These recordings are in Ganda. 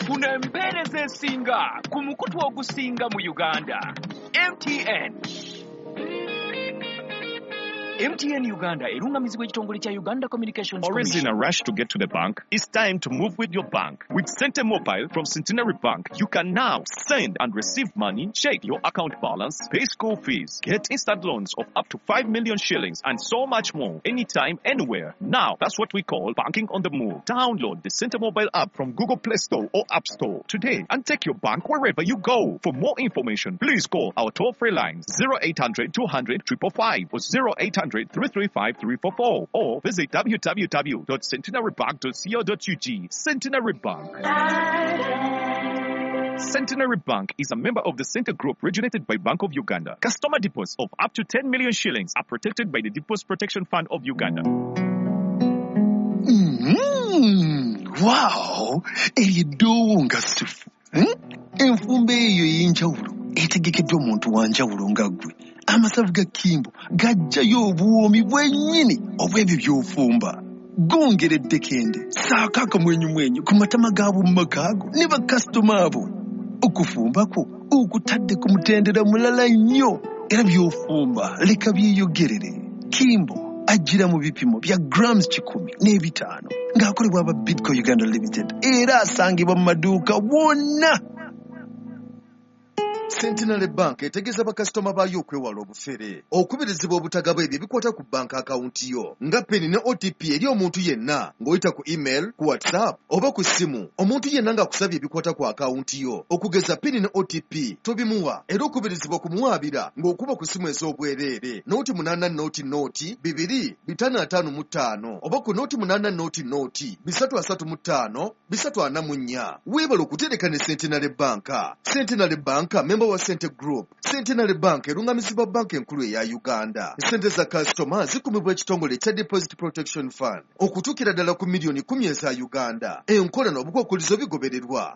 Funa empeereza esinga ku mukutu ogusinga mu Uganda. MTN. MTN Uganda erungamizibwa ekitongole kya Uganda Communications Always in Commission. a rush to get to the bank? It's time to move with your bank. With Sente Mobile from Centenary Bank, you can now send and receive money, check your account balance, pay school fees, get instant loans of up to 5 million shillings, and so much more anytime, anywhere. Now, that's what we call banking on the move. Download the Sente Mobile app from Google Play Store or App Store today and take your bank wherever you go. For more information, please call our toll-free lines 0800 200 555 or 0800 335 344 or visit www.centenarybank.co.ug. Centenary Bank. Centenary Bank is a member of the Center Group regulated by Bank of Uganda. Customer deposits of up to 10 million shillings are protected by the Deposit Protection Fund of Uganda. Wow! Eryo eddoowo nga ssufu. Enfumba eyo ey'enjawulo etegekeddwa omuntu wa njawulo nga ggwe. Amasavu ga Kimbo gajjayo obuwoomi bwennyini obw'ebyo by'ofumba. Gongera eddekende, ssaako akamwenyumwenyu ku matama g'ab'omu maka go ne bakasitoma abo. Okufumba kwo okutadde ku mutendera mulala nnyo era by'ofumba leka byeyogerere. Kimbo ajjira mu bipimo bya grams 105 ng'akolebwa aba Bidco Uganda Limited era asangibwa mu maduuka wonna. Centenary Bank etegeeza bakasitoma baayo okwewala obufere, okubirizibwa obutagaba ebyo ebikwata ku banka akawunti yo nga PIN ne OTP eri omuntu yenna ng'oyita ku email, ku WhatsApp oba ku ssimu. Omuntu yenna ng'akusabye ebikwata ku akawunti yo okugeza PIN ne OTP tobimuwa, era okubirizibwa kumuwaabira ng'okuba ku ssimu ez'obwereere 080 0 2 555 oba ku 080 0 335 344. Weebale okutereka ne Centenary Bank. Centenary Bank member wa Sente Group. Centenary Bank erungamizibwa banka enkulu eya Uganda. Sente za kasitoma zikumibwa ekitongole ekya Deposit Protection Fund okutuukira ddala ku miliyoni 10 eza Uganda. Enkola n'obukwakkulizo bigobererwa.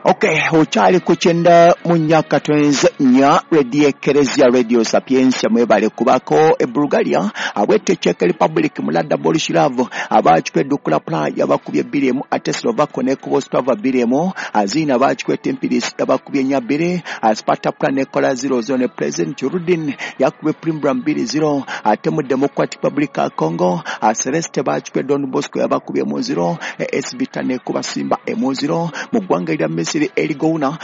Okay, okyali ku 94.4 Radio Ekeresia, Radio Sapientia, mwebale kubako. E Bulgaria abwete Czech Republic mulada Borislavov abakikwedde Dukla yabakubye 2-1, ate Slovako ne Ostrava 2-1, Azina bakikwete Empirisi yabakubye 4-2, Sparta Prague nekola 0-0 ne President Rudin yakubye Primbram 2-0, ate mu Democratic Republic ya Congo Celeste bakikwe Don Bosco yabakubye 0, AS Vita nekuba Simba 0. Mu ggwanga erya Misiri Eligouna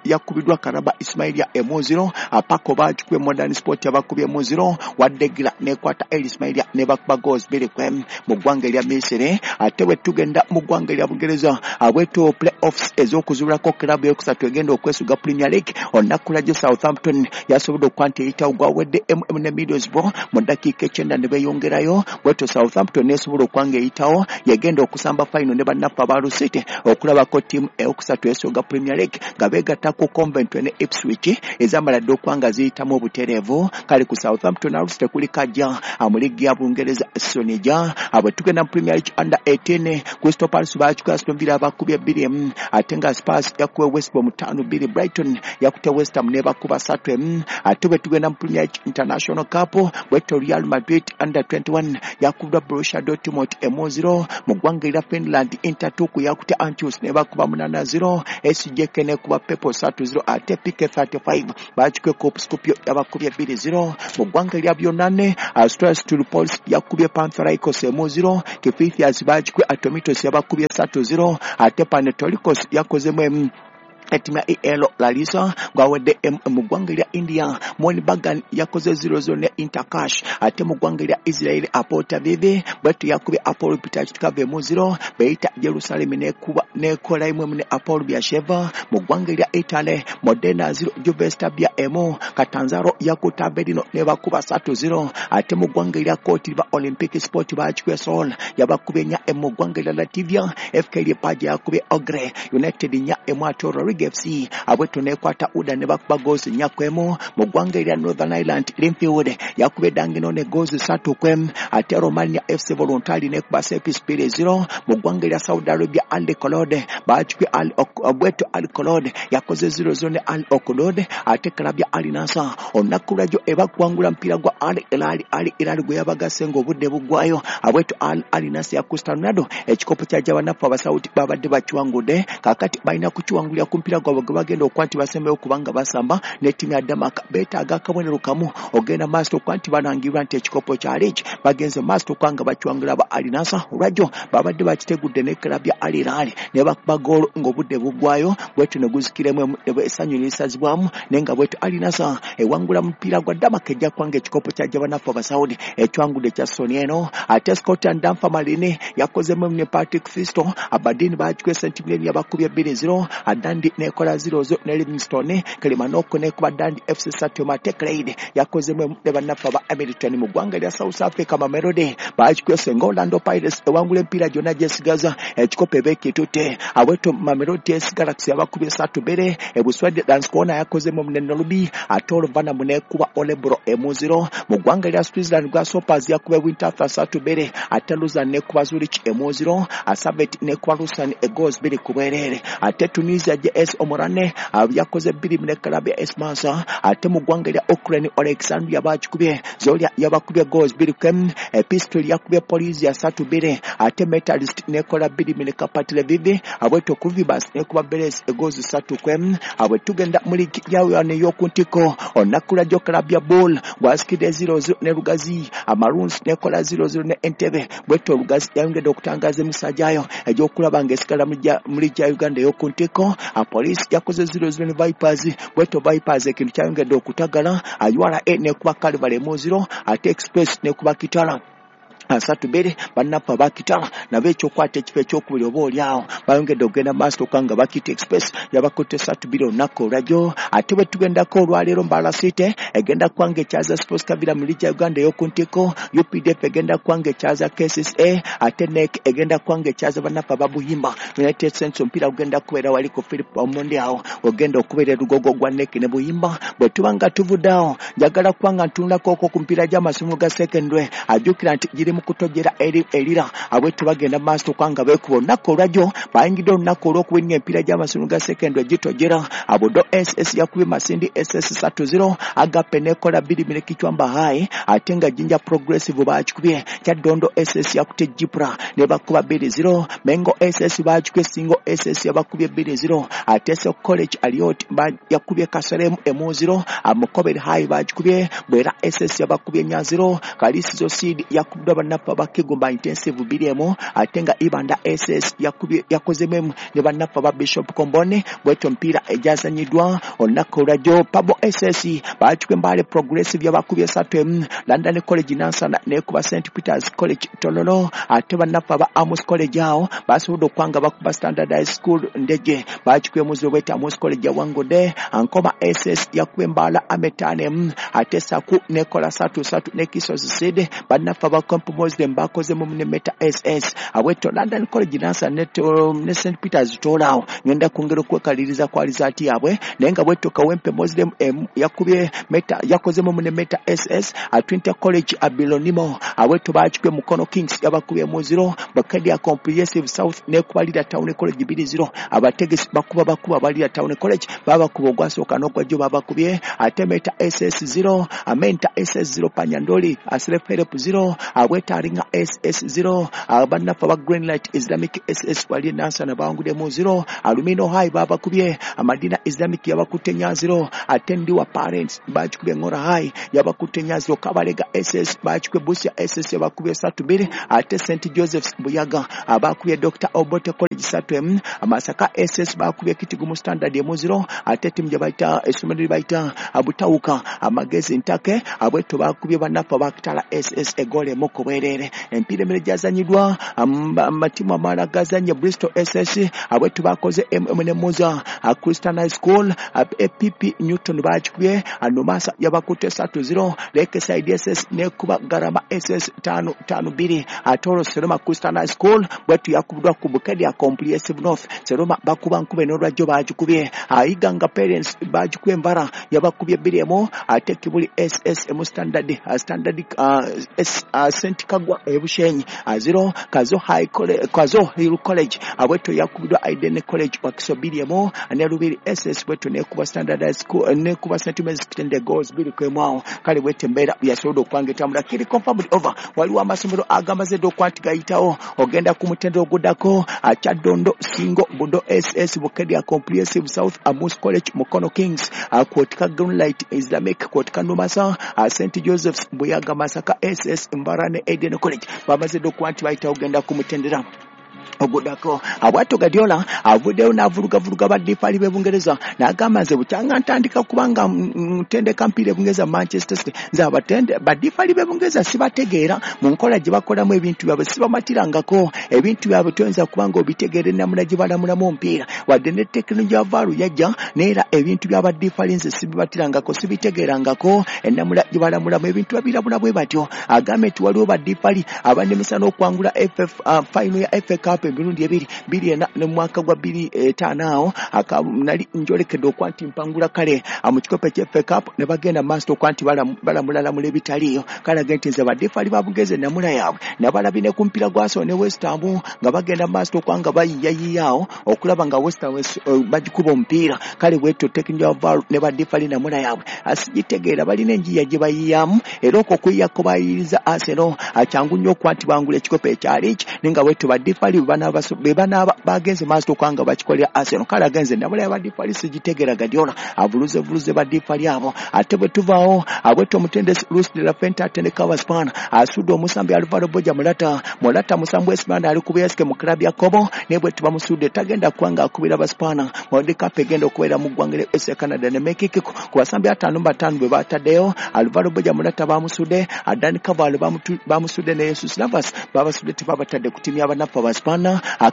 yakubiddwa Karaba Ismailia 0, Apako bakikwe Modern Sport yabakubye 0, Wadegira nekwata El Ismailia nebakuba goals 2-1 mu ggwanga erya Misiri. Ate bwe tugenda mu ggwanga erya Bungereza abweto playoffs ez'okuzuulako club yokusatu egenda okwesuga Premier League olunaku lwajjo Southampton yasobodde okuba nti eyitawo gwawedde MM ne Middlesbrough mu ddakiika 9 ne beeyongerayo. Bwetyo Southampton nesobola okuba nga eyitawo yegenda okusamba final ne bannaffe aba Hull City okulabako ttiimu eyokusatu esoga Premier League nga beegatta ku Coventry ne Ipswich ezamala dda okuba nga ziyitamu obutereevu. Kale ku Southampton Hull City kuliko ajja mu liigi ya Bungereza Sonija. Bwe tugenda mu Premier League under 18 Crystal Palace bakikola Aston Villa abakubye 2-1, ate nga Spurs yakubye West Brom 5-2, Brighton yakutte West Ham nebakuba 3-1. Ate bwe tugenda mu Premier League International Cup bwetyo Real Madrid under 21 yakubiddwa Borussia Dortmund 1-0. Mu ggwanga erya Finland Inter Turku yakutte Anchus nebakuba 8-0, SJK nekuba Pepo 3-0, ate PK35 bakikwe Kop Skopje yabakubye 2-0. Mu ggwanga erya Byonane Strasbourg yakubye Panthericos 1-0, Kifithias bakikwe Atomitos yabakubye 3-0, ate Panetolikos yakozemu ettiimu ya EL Larissa gwawedde mu ggwanga erya India Mohun Bagan yakoze 0-0 ne Intercash. Ate mu ggwanga erya Israel Hapoel Tel Aviv bwetyo yakubye Hapoel Petah Tikva 0, Beitar Jerusalem nekuba nekola 1 ne Hapoel Beersheva. Mu ggwanga erya Italy Modena 0 Juve Stabia 1, Catanzaro yakutte Avellino nebakuba 3-0. Ate mu ggwanga erya Cote d'Ivoire Olympic Sport bakikubye Sol yabakubye 4. Mu ggwanga erya Latvia FK Liepaja yakubye Ogre United 4-1, ate Riga Kabalega FC abweto nekwata Uda ne bakuba goals 4-1. Mu ggwanga erya Northern Ireland Linfield yakubye Danginone goals 3-1, ate Romania FC Voluntari nekuba Sepis 2-0. Mu ggwanga erya Saudi Arabia Al Kolode bakikwe abweto Al Kolode yakoze 0-0 ne Al Okolode, ate club ya Al Nassr olunaku lwajjo ebakuwangula mpira gwa Al Hilal. Al Hilal gwe yabagase ng'obudde buggwayo. Abweto Al Nassr ya Cristiano ekikopo kya Jabanafu Abasaudi babadde bakiwangudde, kaakati balina kukiwangulira ku mpira gwabwe gwe bagenda okuba nti basembeyo kubanga basamba ne ttiimu ya Denmark. Beetaaga akabonero kamu ogenda maaso okuba nti balangirwa nti ekikopo kya league bagenze maaso okuba nga bakiwangula ba Al Nassr. Olwajjo babadde bakitegudde ne club ya Al Hilal ne bakuba goolo ng'obudde buggwayo, bwetyo ne guzikiremu essanyu ne lisazibwamu, naye nga bwetyo Al Nassr ewangula mupiira gwa Denmark ejja kubanga ekikopo kya Jabanafu Abasaudi ekiwangudde kya Sony eno. Ate Scotland Dunfermline yakozemu ne Patrick Fisto, Aberdeen bakikwe St Mirren yabakubye 2-0, Dundee nekola 0-0 ne Livingston, Kilmarnock nekuba Dundee FC 3, ate Clyde yakozemu ne bannaffe aba Hamilton. Mu ggwanga lya South Africa Mamelodi bakikwe Senga Orlando Pirates ewangula emipiira gyonna gyesigaza ekikopo eba ekitutte. Aweto Mamelodi SC Galaxy yabakubye 3-2, e Buswede Lanskona yakozemu ne Nolubi, ate Oluvanamu nekuba Olebro 1-0. Mu ggwanga lya Switzerland Grasshoppers yakubye Winterthur 3-2, ate Lausanne nekuba Zurich 1-0, Servette nekuba Lausanne goals 2-2. Ate Tunisia JS Omorane yakoze 2 ne club ya AS Mansa. Ate mu ggwanga lya Ukraine Alexandria bakikubye Zoria yabakubye goals 2-1, Pistol yakubye Polisia 3-2, ate Metalist nekola 2 ne Kapati Lviv. Abweto Kruvibas nekuba Beres goals 3-1. Abwe tugenda mu ligi yawe ey'oku ntiko olunaku lwajjo club ya Ball gwasikidde 0-0 ne Lugazi, Amaroons nekola 0-0 ne Entebbe. Bwetyo Lugazi yayongedde okutangaza emisa gyayo egy'okulaba ng'esigala mu ligi ya Uganda ey'oku ntiko. Police yakoze 0-0 ne Vipers, bwetyo Vipers ekintu kyayongedde okutagala. URA nekuba Calvary 0, ate Express nekuba Kitara 3-2. Bannaffe abakitala nabo ekyokwata ekifo ekyokubiri oba oli awo bayongedde okugenda maaso okubanga bakita Express yabakutte 3-2 olunaku olwajjo. Ate bwe tugendako olwaleero Mbala City egenda kubanga ekyaza Sports Kabira mu ligi ya Uganda ey'oku ntiko, UPDF egenda kubanga ekyaza KCCA, ate NEC egenda kubanga ekyaza bannaffe ababuhimba United Saints. Omupiira gugenda kubeera wali ku Philip Omondi awo ogenda okubeera erugogo gwa NEC ne Buhimba. Bwe tuba nga tuvudde awo njagala kubanga ntunulako okwo ku mipiira gy'amasomo ga secondary, ajjukira nti giri mu kutojjera erira. Abwetu bagenda maaso okubanga beekuba olunaku olwajjo bayingidde olunaku olw'okuwinnya emipiira gy'amasomo ga secondary gitojjera. Abodo SS yakubye Masindi SS 3-0, Agape nekola 2 ne Kichwamba High, ate nga Jinja Progressive bakikubye Kyaddondo SS yakutte Jipra ne bakuba 2-0, Mengo SS bakikubye Singo SS yabakubye 2-0, ate So College Aliot yakubye Kaseremu 1-0, Mukobere High bakikubye Bwera SS yabakubye 4-0, Kalisizo Seed yakubiddwa bannaffe abakigumba Intensive 2-1, ate nga Ibanda SS yakozemu ne bannaffe aba Bishop Kombone. Bwetyo emipiira egyazanyiddwa olunaku olwajjo Pabo SS bakikubye Mbale Progressive yabakubye 3-1, London College Nansana nekuba St Peters College Tololo, ate bannaffe aba Amos College awo basobodde okuba nga bakuba Standard High School Ndeje bakikubye 0 bwetyo Amos College yawangudde. Ankoma SS yakubye Mbala Ametane, ate Saku nekola 3-3 ne Kisozi Seed. Bannaffe aba Kompu Muslim bakozemu ne Meta SS. Abweto London College Nansana ne St Peters Tolo awo ngenda kwongera okwekaliriza kwa lizaati yaabwe, naye nga bwetyo Kawempe Muslim yakubye Meta yakozemu ne Meta SS. Twinta College Abilonimo abweto bakikubye Mukono Kings yabakubye 0, Bukedea Comprehensive South nekuba Lira Town College 2-0. Abategesi bakuba balira Town College babakuba ogwasooka n'ogwajjo babakubye. Ate Meta SS 0, Amenta SS 0, Panyandoli Self Help 0, Abweta Aringa SS 0, bannaffe aba Greenlight Islamic SS wali Nansana bawanguddemu 0, Alumino High babakubye Amadina Islamic yabakutte 4-0, ate Ndiwa Parents bakikubye Ngora High yabakutte 4-0, Kabalega SS bakikubye Busia SS yabakubye 3-2, ate St Joseph's Buyaga abakubye Dr Obote College 3-1, Masaka SS bakubye Kitigumu Standard 0, ate ttiimu gye bayita essomero lye bayita Butawuka Amagezi Ntake abweto bakubye bannaffe abakitala SS egoolo 1 ku bwereere. Empiira emere gyazanyiddwa amatimu amalala gazanye Bristol SS abwetu bakoze MM ne Muza Christian High School APP Newton bakikubye Nomasa yabakutte 3-0 Lakeside SS nekuba Garama SS 5-5-2 Atoro Seroma Christian High School bwetu yakubiddwa ku Bukedia Comprehensive North. Seroma bakuba nkube n'olwajjo bagikubye Iganga Parents bagikubye Mbara yabakubye 2-1 ate Kibuli SS mu Standard St Kagwa Ebushenyi 0 Kazo High College Kazo Hill College abwetu yakubiddwa Aiden College Wakiso 2-1 ne Lubiri SS bwetu nekuba Standard High School nekuba St Mary's Kitende goals 2-1. Kale bwete embeera yasobodde okubanga etambula kiri confirmed over. Waliwo amasomero agamaze dda okuba nti gayitawo ogenda ku mutendera oguddako Kyadondo Singo Budo SS Bukedia Comprehensive South Amus College Mukono Kings Kwotika Greenlight Islamic Kwotika Numasa St Joseph's Buyaga Masaka SS Mbara ne Eden College bamaze dda okuba nti bayitawo ogenda ku mutendera oguddako. Abwato Guardiola avuddeyo n'avulugavuruga baddifaali b'e Bungereza n'agamba nze bukyanga ntandika kubanga ntendeka mpiira e Bungereza Manchester City nze baddifaali b'e Bungereza sibategeera mu nkola gye bakolamu ebintu byabwe sibamatirangako ebintu byabwe toyinza kubanga obitegeera ennamula gye balamulamu omupiira wadde ne tekinologiya ya VAR yajja neera ebintu by'abaddifaali nze sibibmatirangako sibitegeerangako ennamula gye balamulamu ebintu babirabula bwe batyo. Agambye nti waliwo baddifaali abanemesa n'okuwangula final ya FA Cup emirundi ebiri 2004 ne mwaka gwa 2005 awo nali njolekedde okuba nti mpangula kale mu kikopo ekya FA Cup ne bagenda maaso okuba nti balamulalamula ebitaliiyo. Kale agambye nti nze baddifaali ba Bungereza ennamula yaabwe nabalabye ne ku mupiira gwa Arsenal ne West Ham nga bagenda maaso okuba nga bayiiyayiiya awo okulaba nga West Ham bagikuba omupiira. Kale bwetyo tekinologiya wa VAR ne baddifaali ennamula yaabwe asigitegeera balina enjiiya gye bayiiyamu era okwo okuyiiyako bayiiriza Arsenal kyangu nnyo okuba nti bangula ekikopo ekya liigi naye nga bwetyo baddifaali be banaaba bagenze maaso okuba nga bakikolera Arsenal. Kale agenze ennamula ya baddifaali sigitegeera Guardiola avuluze baddifaali abo. Ate bwe tuvaawo abwetyo omutendesi Luis de la Fuente atendeka Abaspaana asudde omusambi Alvaro Borja Morata musambi w'Espaana ali ku BSK mu club ya Kobo naye bwe tubamusudde tagenda kuba nga akubira Abaspaana. World Cup egenda okubeera mu ggwanga lya USA, Canada ne Mexico. Ku basambi 55 bwe bataddeyo Alvaro Borja Morata bamusudde, Dani Carvajal bamusudde ne Jesus Navas babasudde tebabatadde ku ttiimu y'abanafu Abaspaana.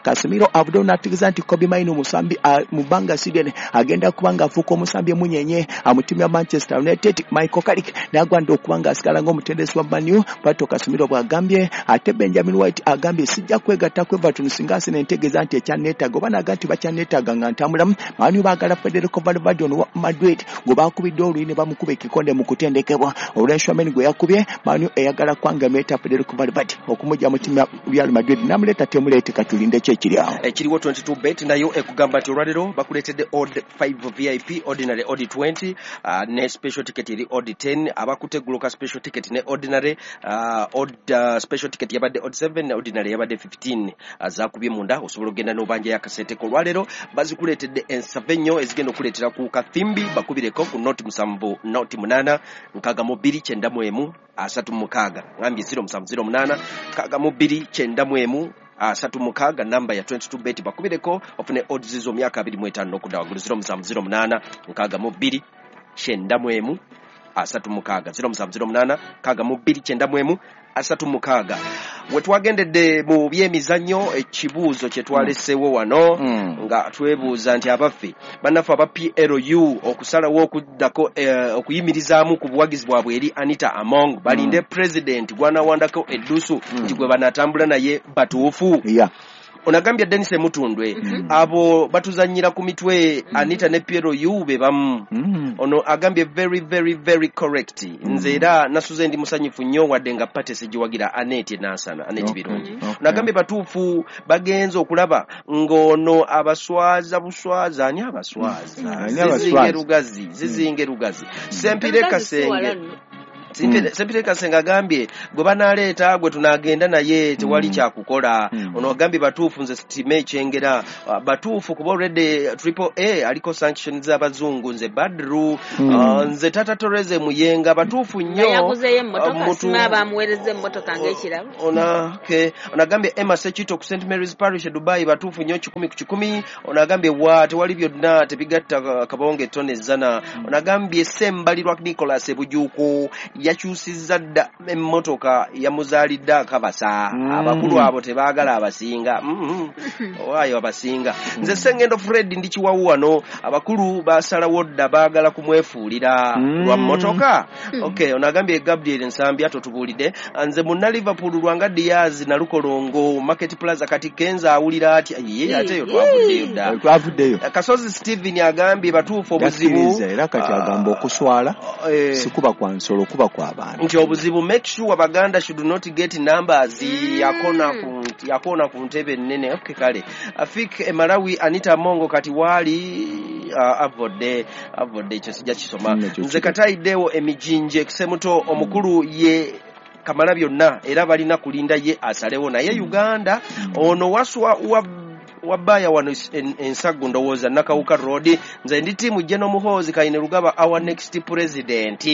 Casemiro avuddeyo n'ategeeza nti Kobbie Mainoo musambi mu bbanga si ddene agenda kuba nga afuuka omusambi emunyenye mu ttiimu ya Manchester United. Michael Carrick n'agwanda okuba nga asigala ng'omutendesi wa Man U bw'atyo Casemiro bw'agambye. Ate Benjamin White agambye sijja kwegatta ku Everton singa Arsenal entegeeza nti ekyanneetaaga oba n'agamba nti bakyanneetaaga nga ntambulamu. Man U baagala Federico Valverde ono wa Madrid gwe baakubidde oluyi ne bamukuba ekikonde mu kutendekebwa olw'Tchouameni gwe yakubye. Man U eyagala kwanga emuleeta Federico Valverde okumugya mu ttiimu ya Real Madrid n'amuleeta temuleete katulinde ki ekiri awo. Ekiriwo 22 bet nayo ekugamba nti olwaleero bakuleetedde odd 5 VIP, ordinary odd 20, ne special ticket eri odd 10. Abakuteguluka special ticket ne ordinary, odd special ticket yabadde odd 7 ne ordinary yabadde 15. Zakubye munda osobola okugenda n'obanjayo akasente ko. Olwaleero bazikuleetedde ensava ennyo ezigenda okuleetera ku kathimbi. Bakubireko ku 07 08 62 91 36 ngambye 0708 62 91 36 namba ya 22 bet. Bakubireko ofune odds zo myaka 25 n'okudda waggulu. 0708 62 91 36 0708 62 91 36. We twagendedde mu byemizannyo, ekibuuzo kye twaleseewo wano nga twebuuza nti abaffe bannaffe aba PLU okusalawo okuddako okuyimirizaamu ku buwagizi bwabwe eri Anita Among balinde president gwanawandako eddusu nti gwe banaatambula naye batuufu. Onagambye Denis Emutundwe abo batuzannyira ku mitwe Anita ne PLU be bamu. Ono agambye very very very correct. Nze era nasuze ndi musanyufu nnyo wadde nga party sigiwagira. Anet Nansana Anet Birungi. Onagambye batuufu bagenze okulaba ng'ono abaswaza buswaza. Ani abaswaza? Ani abaswaza? Zizinge Lugazi, zizinge Lugazi Sempire Kasenge. Sempire Kasenge agambye gwe banaleeta gwe tunagenda naye tewali kyakukola. Ono agambye batuufu nze sitime ekyengera. Batuufu kuba already Triple A aliko sanctions z'abazungu. Nze Badru. Nze Tata Toreze Muyenga batuufu nnyo. Yaguzeyo emmotoka. Sima bamuweereza emmotoka ng'ekirabo. Ona okay. Onagambye Emma Sekito ku St Mary's Parish e Dubai batuufu nnyo 100 ku 100. Onagambye wa tewali byonna tebigatta kabonge tone zana. Onagambye Sembalirwa Nicholas Ebujuku Yakyusizza dda emmotoka, yamuzaalidde akabasa. Abakulu abo tebaagala abasinga. Owaayo abasinga. Nze Sengendo Fred ndi Kiwawu wano. Abakulu basalawo dda, baagala kumwefuulira lwa mmotoka. Okay, ono agambye Gabriel Nsambya totubuulidde. Nze munna Liverpool Lwanga Diaz Nalukolongo Market Plaza. Kati Kenza awulira atya? Ye ate eyo twavuddeyo dda. Twavuddeyo. Kasozi Steven agambye batuufu obuzibu. Yakkiriza era kati agamba okuswala sikuba kwa nsolo, kuba kwa bantu. Nti obuzibu, make sure Baganda should not get numbers. Yakona ku ntebe ennene. Okay, kale Afik e Malawi Anita Mongo kati waali avodde ekyo sijja kisoma. Nze katayiddewo emijinje Semuto omukulu ye kamala byonna era balina kulinda ye asalewo naye Uganda. Ono waswa wabaya wano ensagu ndowooza Nakawuka Road. Nze ndi tiimu General Muhoozi Kainerugaba, our next president.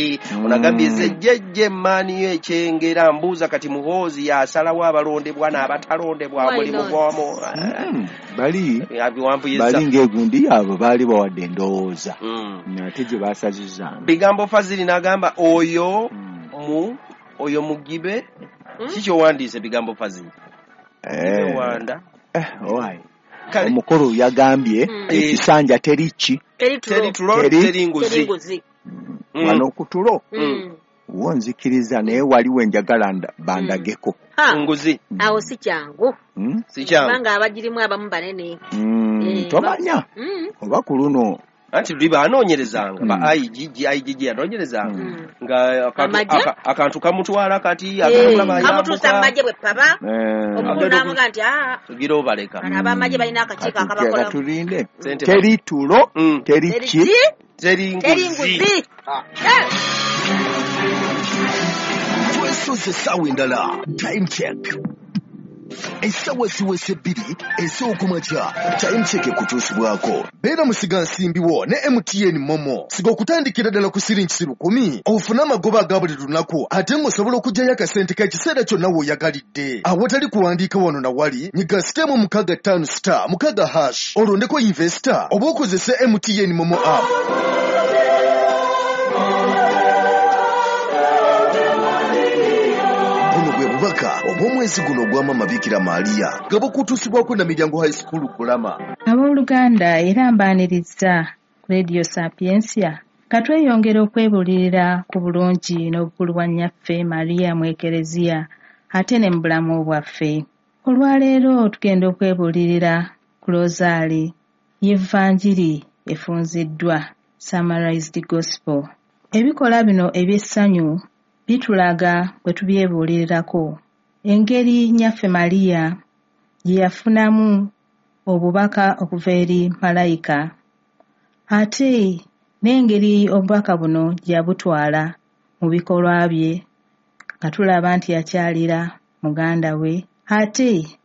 Onagambye ze jjejje maani ekyengera mbuuza kati Muhoozi yasalawo abalondebwa n'abatalondebwa mulimu gwomu. Bali ng'egundi yaabwe baali bawadde endowooza ate gye baasazizaamu. Bigambo Fazili n'agamba oyo oyo mugibe. Kiki owandiise Bigambo Fazili? Wanda. Omukulu yagambye ekisanja teri ki? Teri tulo, teri nguzi. Wano ku tulo wo nzikiriza, naye waliwo enjagala bandageko. Nguzi. Awo si kyangu. Si kyangu. Kubanga abagirimu abamu banene. Tomanya oba ku luno anti luli banoonyerezanga ba IGG yanoonyerezanga nga akantu kamutwala kati kamutuusa mu magye bwe paba omukulu n'amuga nti tugira obaleka. Ab'amagye balina akakiiko akabakola. Katulinde. Teri tulo, teri ki? Teri nguzi. Twesoze essaawa endala. Time check. Essaawa ziweze 2 ez'okumakya. Time check ekutuusibwako. Beera musigansimbi wo ne MTN Momo. Siga okutandikira ddala ku siringi 10,000 ofune amagoba aga buli lunaku ate ng'osobola okuggyayo akasente k'ekiseera kyonna w'oyagalidde. Awatali kuwandiika wano na wali, nyiga *656*6# olondeko investor oba okozese MTN Momo app. Bubaka obw'omwezi guno ogwa Mama Bikira Maria gabo kutuusibwako na Miryango High School Kulama. Abooluganda, era mbaaniriza ku Radio Sapientia. Katweyongera okwebuulirira ku bulungi n'obukulu bwa nnyaffe Maria mu Ekereziya ate ne mu bulamu bwaffe. Olwaleero tugenda okwebuulirira ku Rosaali y'Evanjiri efunziddwa, Summarized Gospel. Ebikola bino eby'essanyu bitulaga bwe tubyebuulirirako engeri nnyaffe Maria gye yafunamu obubaka okuva eri malayika, ate n'engeri obubaka buno gye yabutwala mu bikolwa bye, nga tulaba nti yakyalira muganda we, ate